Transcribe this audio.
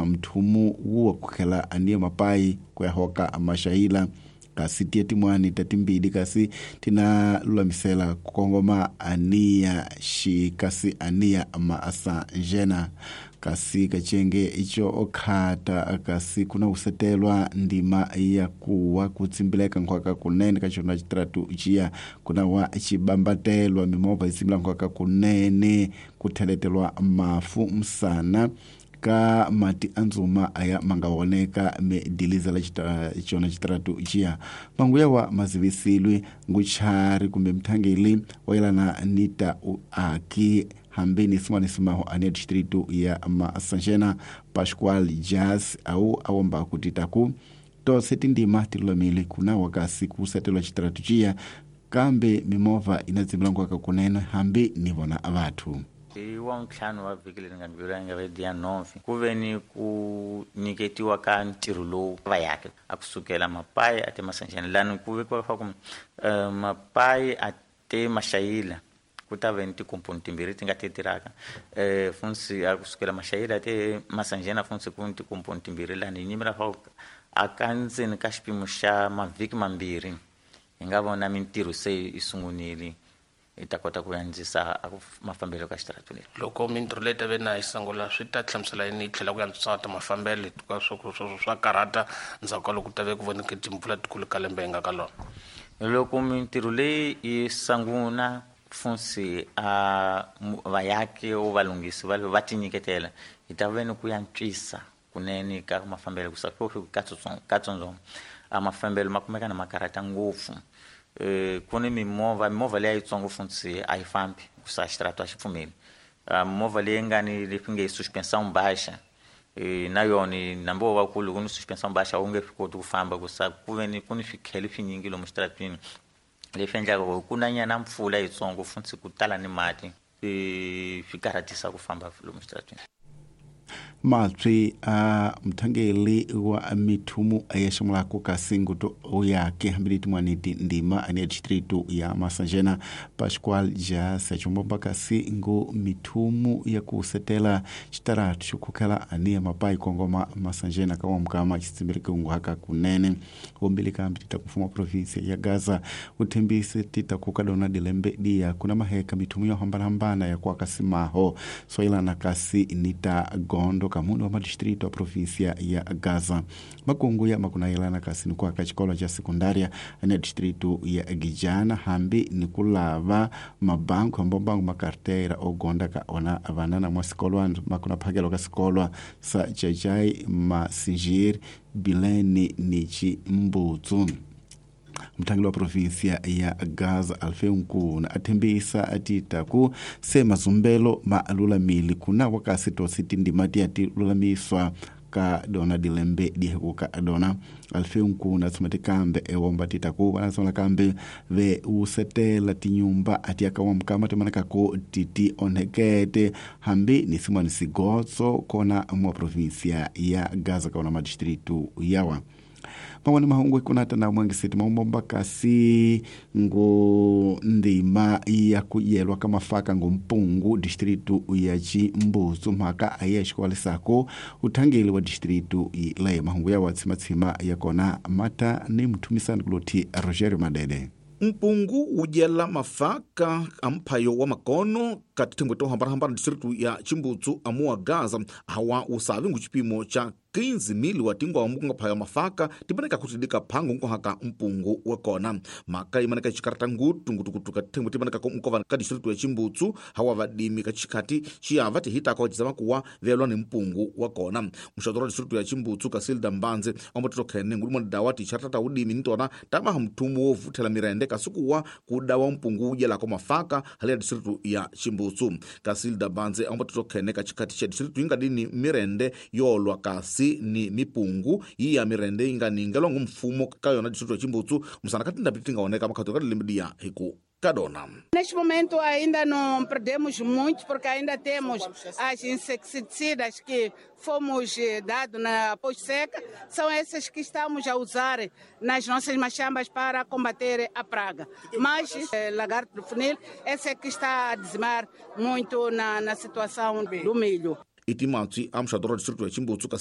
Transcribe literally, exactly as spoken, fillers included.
mthumu wuwa kukhela aniya mapayi ku ya hoka maxayila kasi tiya tin'wani ta timbili kasi tina lulamisela ku kongoma aniya xi kasi aniya maasanjena kasi kacenge ico okhata kasi kuna usetelwa ndima ya kuwa kutsimbileka nkhwaka kunene ka xona xitratu ciya kuna wa xibambatelwa mimovha yi tsimbila nkhwaka kunene ku theletelwa mafu msana ka mati andzuma aya manga woneka me dilizela xona xitratu ciya manguya wa mazivisilwi nguchari kumbe mthangeli wa yelana ni ta uaki hambi ni sin'wana simaho ane distrito ya Masanjena Pascual Jazz au awomba kuti taku tose tindima tilulamile kuna wakasi kusetelwa xitratu ciya kambe mimovha inatsimbila kunene hambi ni vona vathu. I wa ntlhanu wa vhiki leri nga ndlula nga ve ya nove ku ve ni ku nyiketiwa ka ntirho lowu va yake a kusukela mapayi a te Masanjena lani ku vekiwa leswaku mapayi a te Maxayila ku ta ve ni tikomponi timbirhi ti nga ti tirhaka um funsi a kusukela Maxayila te Masanjena funsi ku ni tikomponi timbirhi lani hi nyimela leswaku a ka ndzeni ka xipimo xa mavhiki mambirhi hi nga vona mintirho se yi sungunile i ta kota ku andzisa mafambelo ka xitaratu leri. Loko mintirho leyi ta ve na yi sungula swi ta hlamusela yini yi tlhela ku antswisa ta mafambelo hikuva swo swo swa karhata ndzhaku ka loko ku ta ve ku voneke timpfula tikulu ka lembe hi nga ka lona. Loko mintirho leyi yi sungula funsi a vayaki o valunghisi va va tinyiketela hi ta ve ni ku antswisa kunene ka mafambelo ku sa katsongo a mafambelo ma kumeka na ma karhata ngopfu. Ku ni mimovha mimovha leyi yitsongo funtsi a yi fambi ku sa xitaratu a xi pfumeli movha leyi nga ni leswi nge suspension baixa na yona nambi wo va kulu ku ni suspension baixa wu nge swi koti ku famba ku sa ku ve ni ku ni swikhele swinyingi lomu xitaratwini leswi endlaka ku ku na nyana mpfula yitsongo funtsi ku tala ni mati swi karhatisa ku famba lomu xitaratwini. Matswi a mthangeli wa mithumu ya ximulako kasi nguto uyake hambili tin'wani tindima ane distrito ya Masanjena Pascual Jazz achombomba kasi ngo mithumu ya kusetela xitaratu xo khukhela aniya mapayi kongoma Masanjena ka wamukama xitsimbileke unguhaka kunene wombili kambi tita kufuma provinsia ya Gaza uthembise tita kuka dona dilembe dia kuna maheka mithumu yo hambanahambana ya kuaka simaho soilana kasi nita gondo kamuno wa madistrito a província ya Gaza makungu ya makunayelana kasi ni kuaka xikolo xa sekundaria ane distrito ya Gijana hambi ni kulava mabanku hambombangu makartera ogonda ka ona vanana mwa sikolwa makuna phakelo ka sikolwa sa Jajai Masinjir Bileni ni Chimbutsu. Mthangeli wa província ya Gaza Alfeu Nkuna athembisa atita ku se mazumbelo ma lulamile kuna wakasi tosi tindima tiya ti lulamiswa ka dona dilembe dihekuka dona Alfeu Nkuna tsumati kambe ewomba tita ku vanasola kambe ve usetela tinyumba atiyaka wa mukama timanaka ku titi onhekete hambi ni simwani sigotso kona mwa província ya Gaza kaona madistritu yawa. Mangwani mahungu ikunata na mwangisiti maumomba kasi ngo ndima ya kuyelwa ka mafaka ngo mpungu distritu ya Chimbutsu mhaka aye xikwalisako uthangeli wa distritu leyo mahungu ya watsimatsima ya kona mata ni mthumisani kuloti Rogerio Madede. Mpungu wudyela mafaka a mphayo wa makono ka tithengwe to hambanahambana distritu ya Chimbutsu amuwa Gaza hawa usavi ngu xipimo xa quinze mil wa tingwamu ku nga phaya mafaka timaneka ku tidika phangu nkohaka mpungu wa kona mhaka yi maneka xikarata ngutu ngutukutu ka tithengwe timaneka ku nkova ka distritu ya Chimbutsu hawa vadimi ka xikhati xiyava tihitaka wa kuwa velwa ni mpungu wa kona muxato wa distritu ya Chimbutsu ka Silda Mbanze ambototo khene ngulimo dawa tixarata ta udimi ni tona tamaha mthumu wo vuthela mirende kasi kuwa ku dawa mpungu wu dyelako mafaka hale ya distritu ya Chimbutsu ka Silda Mbanze ambototo khene ka xikhati xa distritu yi nga dini mirende yo lwa kasi ni mipungu yi ya mirende yi nga ningelwa ngu mfumo ka yona distritu ya Chimbutsu musana ka tindhawu ti nga oneka makhato ka lembe liya hi ku Cadona. Neste momento ainda não perdemos muito, porque ainda temos as inseticidas que fomos dados na pós-seca, são essas que estamos a usar nas nossas machambas para combater a praga. Mas eh, lagarto do funil, essa é que está a dizimar muito na, na situação do milho. Itimatsi a muxato wa distritu ya Chimbutsu ka